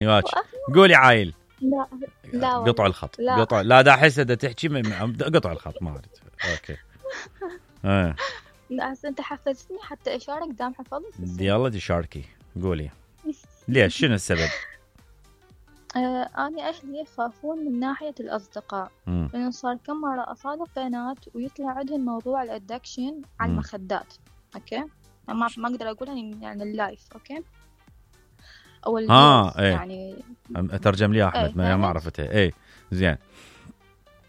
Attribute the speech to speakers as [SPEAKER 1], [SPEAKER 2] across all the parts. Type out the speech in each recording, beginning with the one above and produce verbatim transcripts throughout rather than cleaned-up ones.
[SPEAKER 1] يواج قولي عايل.
[SPEAKER 2] لا لا
[SPEAKER 1] قطع الخط.
[SPEAKER 2] لا.
[SPEAKER 1] قطع لا دا احس دا تحكي من... قطع الخط ما اريد. اوكي اه
[SPEAKER 2] لا انت حفزتني حتى اشارك دام حفظت.
[SPEAKER 1] يلا دي شاركي قولي ليش شنو السبب؟
[SPEAKER 2] آه أنا أهلي يخافون من ناحية الأصدقاء لأنه صار كم مرة أصادف بنات ويطلع عندهم موضوع الأدكشن على المخدات. أوكي ما ما أقدر أقولها يعني اللايف. أوكي أو
[SPEAKER 1] ها ايه.
[SPEAKER 2] يعني
[SPEAKER 1] أترجم لي أحمد. ايه. ما عرفتها. إيه زين.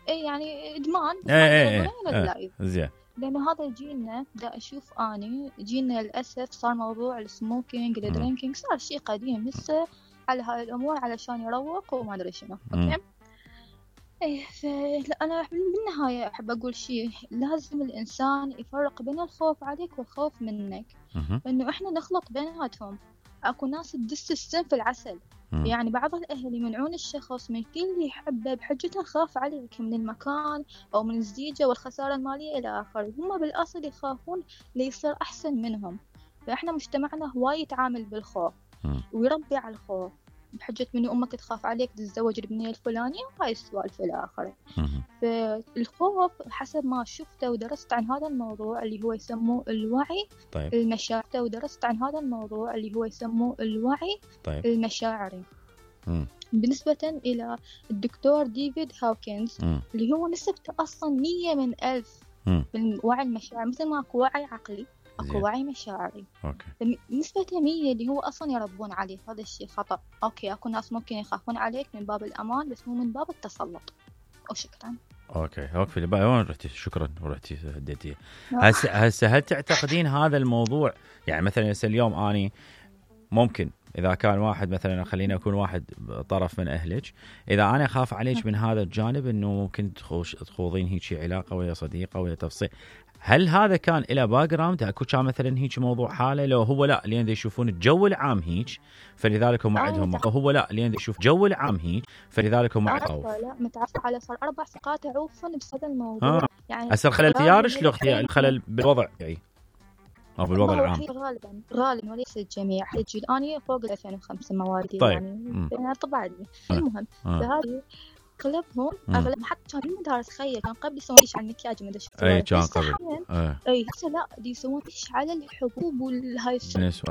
[SPEAKER 2] إيه يعني إدمان.
[SPEAKER 1] إيه إيه إيه. زين.
[SPEAKER 2] لأنه هذا جيلنا دا أشوف أني جيلنا للأسف صار موضوع السموكينج الدرينكينج صار شيء قديم لسه على هاي الأمور علشان يروق وما أدري شنو. أوكي. إيه فأنا بالنهاية أحب أقول شيء لازم الإنسان يفرق بين الخوف عليك والخوف منك. لأنه إحنا نخلط بيناتهم. أكو ناس تدس السم في العسل. مم. يعني بعض الأهل يمنعون الشخص من كل اللي يحبه بحجة خاف عليك من المكان أو من الزيجة والخسارة المالية إلى آخره. هم بالأصل يخافون ليصير أحسن منهم. فإحنا مجتمعنا هواي يتعامل بالخوف مم. ويربي على الخوف بحجة من أمك تخاف عليك تتزوج البنية الفلانية وهاي السوالف إلى آخره. فالخوف حسب ما شفته ودرست عن هذا الموضوع اللي هو يسموه الوعي. طيب. المشاعر ودرست عن هذا الموضوع اللي هو يسموه الوعي. طيب. المشاعري. مم. بالنسبة إلى الدكتور ديفيد هاوكنز مم. اللي هو نسبته أصلا مية من ألف بالوعي المشاعر. مثل ما أكو وعي عقلي أكو وعي مشاعري. أوكي. نسبة مية اللي هو أصلا يربون عليه. هذا الشيء خطأ. أوكي أكو ناس ممكن يخافون عليك من باب الأمان بس مو من باب التسلط. وشكرا. أوكي
[SPEAKER 1] أوكي بقى وين رحتي؟ شكرا ورحتي هديتي. هسه هسه هل تعتقدين هذا الموضوع يعني مثلا اليوم أني ممكن إذا كان واحد مثلا خلينا أكون واحد طرف من أهلك إذا أنا أخاف عليك من هذا الجانب إنه ممكن تخوضين هيك علاقة ويا صديقة ويا تفصيل هل هذا كان إلى باك جراوند أكو كان مثلا هيك موضوع حالة لو هو لا لين يشوفون الجو العام هيك فلذلك هم عندهم أو هو لا لين يشوف جو العام هيك فلذلك هم عندهم
[SPEAKER 2] لا متعرف على صار أربع ثقات عوفا بسبب الموضوع. آه.
[SPEAKER 1] يعني أصل خلل اختيارش لو اختيار الخلل بالوضع يعني أو بالوضع العام
[SPEAKER 2] غالبا غالبا وليس الجميع. الجيل أنا فوق ألفين وخمسة مواليد.
[SPEAKER 1] طيب.
[SPEAKER 2] يعني طبعا المهم فهذه اغلبهم اغلب حتى كان بالمدارس تخيل كان قبل يسوون ايش على المكياج ما شفت
[SPEAKER 1] اي كان قبل
[SPEAKER 2] اي هسه لا دي يسوون ايش على الحبوب والهاي
[SPEAKER 1] السوالف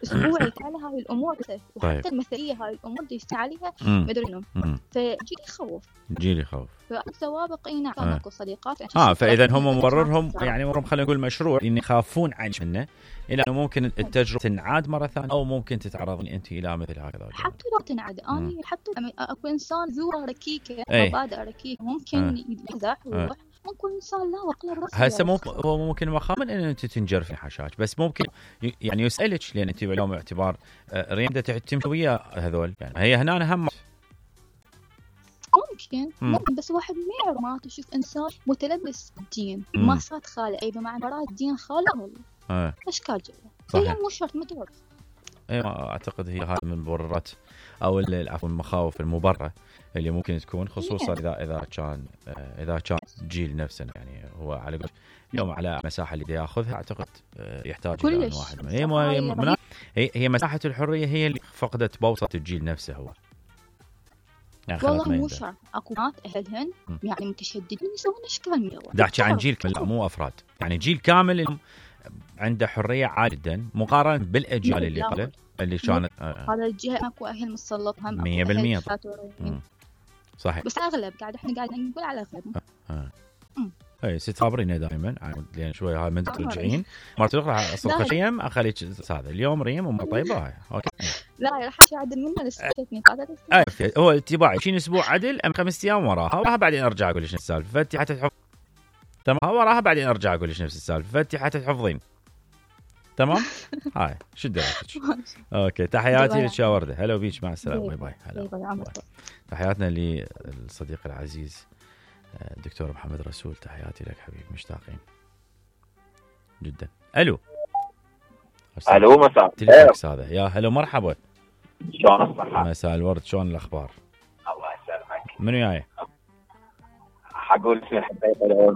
[SPEAKER 2] اسبوعي على هاي الامور وحتى المثليه هاي الامور دي عليها ما ادري منهم فجيل يخوف
[SPEAKER 1] جيل يخوف
[SPEAKER 2] فالسوابق اي نعم اكو صديقات
[SPEAKER 1] اه فاذا هم مبررهم يعني مرهم خلينا نقول مشروع ان يخافون عن منه الى انه ممكن التجربه تنعاد مره ثانيه او ممكن تتعرضين انت الى مثل هكذا.
[SPEAKER 2] حتى لو تنعاد انا حتى اكو انسان ذو ركيكه مبادئ ركيكه ممكن يمزح ويروح ممكن انسان لا وقل
[SPEAKER 1] هسه ممكن هو ممكن مخامن ان انت تنجرفي حشاش بس ممكن يعني يسالك لان انت اليوم اعتبار ريم تمشي ويا هذول يعني هي هنا هم
[SPEAKER 2] ممكن ممكن بس واحد ما يعرف ما تشوف انسان متلبس بالدين ما صاد خاله اي بمعنى براد الدين خاله
[SPEAKER 1] اه
[SPEAKER 2] اشكال جوا هي مو شرط ما تعرف.
[SPEAKER 1] اي ما اعتقد هي هذه من المبررات او عفوا المخاوف المبرره اللي ممكن تكون خصوصا اذا اذا كان اذا كان جيل نفسه يعني هو على اليوم على مساحه اللي ياخذها اعتقد يحتاج الى واحد هي هي, هي هي مساحه الحريه هي اللي فقدت بوصه الجيل نفسه هو
[SPEAKER 2] يعني والله مو شرط اكو ناس اهلهن يعني متشددين يسوون اشكال من
[SPEAKER 1] دا احكي عن جيل لا مو افراد يعني جيل كامل عنده حريه عاليه جدا مقارنه بالاجيال اللي قبل اللي كانت
[SPEAKER 2] آه. هذا الجهه اكو اهل مسلط هم
[SPEAKER 1] مية بالمية صحيح
[SPEAKER 2] بس اغلب قاعد احنا قاعد نقول على اغلب
[SPEAKER 1] اه اي ستخبرينا دائما لان شوي هاي من ترجعين مرة اخرى اصل خشيم اخليك هذا اليوم ريم ام طيبه هاي اوكي
[SPEAKER 2] لا راح اشي عدل منها لسه هذا
[SPEAKER 1] اي هو اتباعي شين اسبوع عدل ام خمس ايام وراها وراها بعدين ارجع اقول لك نفس السالفه فانت حتى تحفظ تمام وراها بعدين ارجع اقول لك نفس السالفه فانت حتى تحفظين تمام هاي شو درايتك اوكي تحياتي لك يا ورده هلا بيك مع السلامه باي باي هلا تحياتنا للصديق العزيز الدكتور محمد رسول تحياتي لك حبيبي مشتاقين جدا. الو
[SPEAKER 3] الو مساء
[SPEAKER 1] الخير هذا يا هلا مرحبا
[SPEAKER 3] شلون الصحه
[SPEAKER 1] مساء الورد شلون الاخبار
[SPEAKER 3] الله يسلمك
[SPEAKER 1] منو جاي
[SPEAKER 3] حقول اسمي حبيت